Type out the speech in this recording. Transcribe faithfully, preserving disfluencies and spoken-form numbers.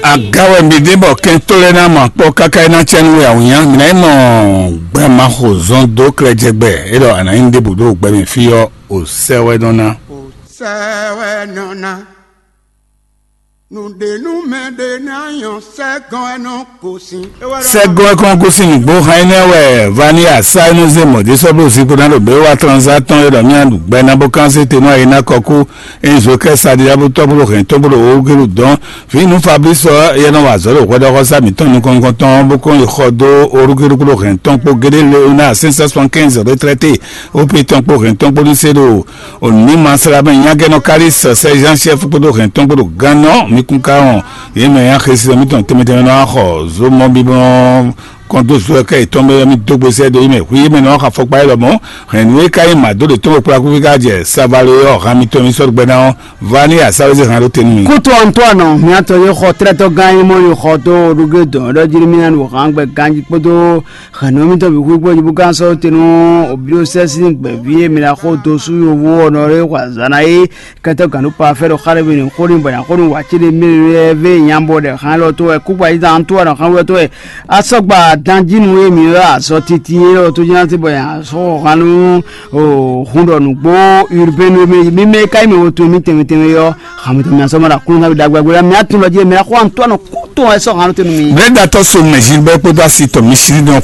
Aga wɛ mi ɖe bɔ kɛntɔ́ lɛ́ɛ ná mɔ akpɔ́ káká é ná cɛ nú we awǐnnya, mi ná yi mɔ gbɛmaxo zɔn dó klɛjɛgbɛ, é ɖɔ a nǎ nyí ɖěbǔ ɖo gbɛ mɛ fí ɔ́, ò sɛ wɛ nɔ ná. Sɛ wɛ nɔ ná. Nǔɖé nú mɛ ɖé ná nyɔ sɛgɔn wɛ nɔ gosín. Sɛgɔn wɛ kɔn gosín nǔgbó hán énɛ́ wɛ vaniya sá é nɔ zé mɔ̌ dé sɔ́ bló zinkpo ná ɖo běwa tranzá tɔn é ɖɔ mía ɖu gbɛ ná bó kán sé te nú ayé ná kɔkú. Ényí zo kɛ sa ɖiɖa bó tɔ́ bó ɖo hɛn tɔn bó ɖo owó gélu dɔn. Vǐ nú Fablísɔ yɛ nɔ wa azɔ̌ ɖo hwɛɖɔxɔsá mǐtɔn nukɔn nukɔntɔn bó kɔn yi xɔ dó orúkúɖukú ɖo hɛn tɔn kpó géɖé Leona cinq cent soixante-quinze retraité, ó pé tɔn kpó hɛn tɔn kpó ní sé ɖo òní ma sla mɛ nyagɛnɔ Kalis sɛzán chef kpódó hɛn tɔn kpódó gannɔ mi kún ká wɔn. Yě mɛ ya xesi mǐtɔn tɛnmɛ tɛnmɛ nɔ wá xɔ zomɔ bíbɔn kɔn dó zo kɛ yětɔn bɛ mi dó gbèsè do yi mɛ hu yě mɛ nɔ wá xɔ afɔkpa yɛ lɔmɔ. Hɛn nú é ká nyí màdó ɖe tɔn kplá kúfí ká jɛ savalo yɔ hàn mitɔn mi sɔ́ gbɛ ná ɔ́, va ní asá wezé hàn ɖó te nú mi. Kútu Antɔ́ɔnù, miatɔ yé xɔ tlɛ́tɔ́ gán e mɔ yi xɔ dó ɖuge dɔn ɖɔ jí mía nu hǎn gbɛ ganjí kpódó hɛ̌nnu mitɔn bǐ xwíxwé jí bó gán sɔ́ te nú òbíɖosɛ́ sín gbɛ̌ví e mi ná xo dó sú yovo ɔ́ nɔ ɖé xɔ azǎn ná é. Kɛtɔ́ gǎn ɖó pafɛ́ ɖo xá ɖé mɛ xó ní bɔ nya xó nú wǎ cé ɖé mɛ vé nyabɔ ɖɛ xán élɔ́ tó wɛ kúkpa yí zán tó wɛ nɔ xán wúlɔ tó wɛ. Asɔgba danjínu e mǐ ylɔ́ azɔ titi élɔ́ tó jɛ́n ná sí bɔ nya sɔ́ xɔ xán nú hun ɖɔ nǔgbó urbain mɛ mímɛ́ ká yi mɛ wo tun mì tɛnmɛ tɛnmɛ ɔ́, xamɛ tɛnmɛ asɔ́ ma ɖo aklúnɔ ná ɖagbe agbé mɛ atún lɔ jí mɛ xó Antoine kú tó wɛ sɔ́ xán tó nú mi. Blɛ́datɔ́ so mɛ Gilbert kpódó asi tɔn mi sí nɔ